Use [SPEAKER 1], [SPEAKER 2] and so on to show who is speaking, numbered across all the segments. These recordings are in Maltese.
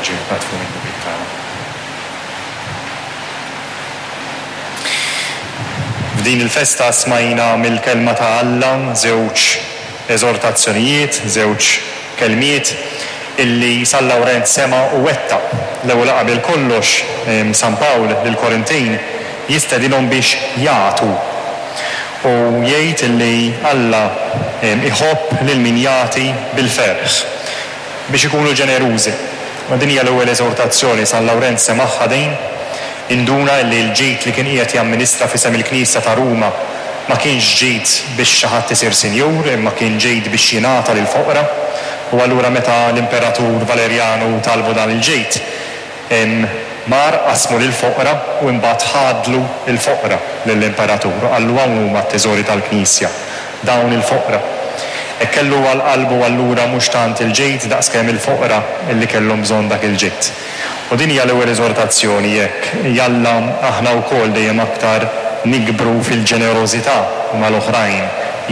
[SPEAKER 1] l-ġieħ naddfu mid-dnubiet tagħna. F'din il-festa smajna mill-Kelma ta' Alla żewġ eżortazzjonijiet, żewġ kelmiet illi San Lawrenz sema' u wettaq. L-ewwel u qabel kollox San Pawl lill-Korintin jistedinhom biex jagħtu u jgħid illi Alla jħobb lil min jagħti bil-ferħ. Biex ikunu ġenerużi. U din hija l-ewwel eżortazzjoni, San Lawrenz semagħha din, induna illi l-ġid li kien qiegħed jamministra f'isem il-Knisja ta' Ruma ma kienx ġid biex xi ħadd isir sinjur imma kien ġid biex jingħata lill-foqra. U allura meta l-Imperatur Valerjanu talbu dan il-ġid, Mar qasmu lill-foqra u imbagħad ħadlu l-foqra lill-Imperatur u qallu hawn huma t-teżori tal-Knisja, dawn il-foqra. Hekk kellu għal qalbu allura mhux tant il-ġid daqskemm il-foqra illi kellhom bżonn dak il-ġid. U din hija l-ewwel eżortazzjoni hekk, jalla aħna wkoll dejjem aktar nikbru fil-ġenerożità mal-oħrajn,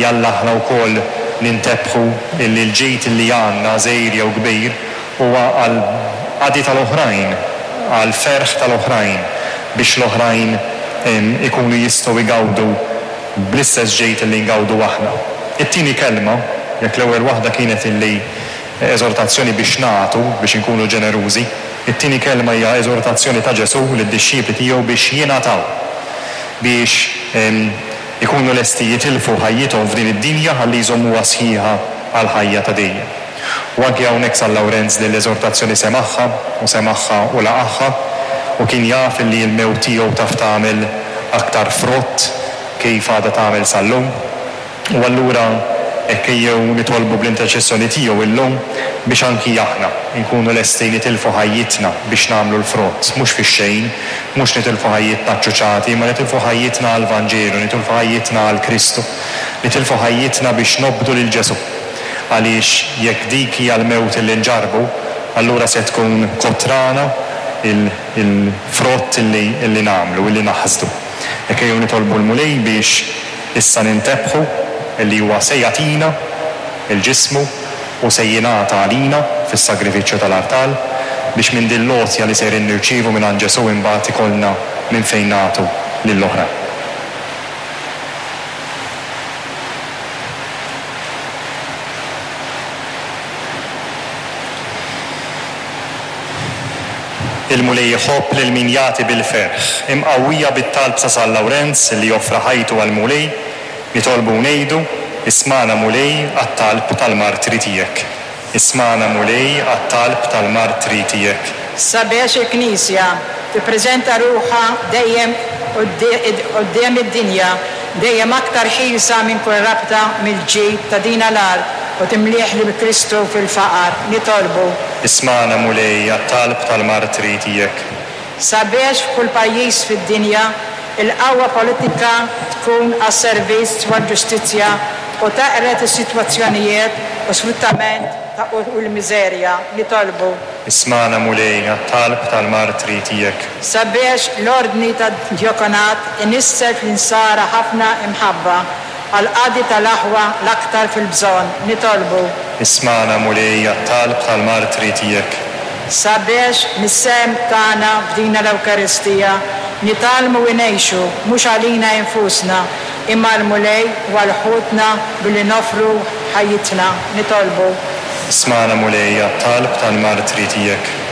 [SPEAKER 1] jalla aħna wkoll nintebħu illi l-ġid illi għandna, żgħir jew kbir, Huwa għall-qadi tal-oħrajn, għall-ferħ tal-oħrajn, biex l-oħrajn ikunu jistgħu jgawdu bl-istess ġid li ngawdu aħna. It-tieni kelma, jekk l-ewwel waħda kienet illi eżortazzjoni biex nagħtu, biex inkunu ġenerużi, it-tieni kelma hija eżortazzjoni ta' Ġesù lid-dixxipli tiegħu biex jingħataw, biex ikunu lesti jitilfu ħajjithom f'din id-dinja ħalli jżommuha sħiħa għall-ħajja ta' dejjem. U anki hawnhekk San Lawrenz din l-eżortazzjoni semagħha u semagħha u laqagħha u kien jaf illi l-mewt tiegħu taf tagħmel aktar frott kif għadha tagħmel sal-lum. U allura hekk ejjew nitolbu bl-interċessjoni tiegħu illum biex anki aħna nkunu lesti nitilfu ħajjitna biex nagħmlu l-frott, mhux fix-xejn, mhux nitilfu ħajjitna ċċuċati, imma nitilfu ħajjitna għall-Vanġelu, nitilfu ħajjitna għal Kristu, nitilfu ħajjitna biex nobdu lil Ġesù. Għaliex jekk dik hija l-mewt li nġarrbu, allura se tkun kotrana l-frott li nagħmlu, li naħsdu. Hekk ejjew nitolbu l-Mulej biex issa nintebħu li huwa se jagħtina l-ġismu u se jingħata għalina fis-sagrifiċċju tal-artal, biex minn din l-għotja li sejrin nirċievu mingħand Ġesù imbagħad ikollna minn fejn nagħtu lill-oħrajn. Il-Mulej iħobb lil min jagħti bil-ferħ. Imqawwija bit-talb ta' San Lawrenz li offra ħajtu għall-Mulej, nitolbu u ngħidu, Ismagħna Mulej għat-talb tal-martri tiegħek. Ismagħna Mulej għat-talb tal-martri tiegħek.
[SPEAKER 2] Sabiex il-Knisja tippreżenta ruħha dejjem quddiem id-dinja dejjem aktar ħielsa minn kull rabta mill-ġid ta' dina l-art u timlieh lil Kristu fil-faqar, nitolbu.
[SPEAKER 1] Ismagħna Mulej għat-talb tal-martri tiegħek.
[SPEAKER 2] Sabiex f'kull pajjiż fid-dinja il-qawwa politika tkun għas-servizz u għall-ġustizzja u teqred is-sitwazzjonijiet u sfruttament ta' u l-miżerja, nitolbu.
[SPEAKER 1] Ismagħna Mulej għat-talb tal-martri tiegħek.
[SPEAKER 2] Sabiex l-ordni tad-djakonat inissel fl-insara ħafna imħabba għall-qadi tal-aħwa l-aktar fil-bżonn, nitolbu.
[SPEAKER 1] Ismagħna, Mulej, għat-talb tal-martri tiegħek.
[SPEAKER 2] Sabiex mis-sehem tagħna f'dina l-Ewkaristija nitgħallmu ngħixu mhux għalina infusna imma għall-Mulej u għal ħutna billi noffru ħajjitna, nitolbu.
[SPEAKER 1] Ismagħna, Mulej, għat-talb tal-martri tiegħek.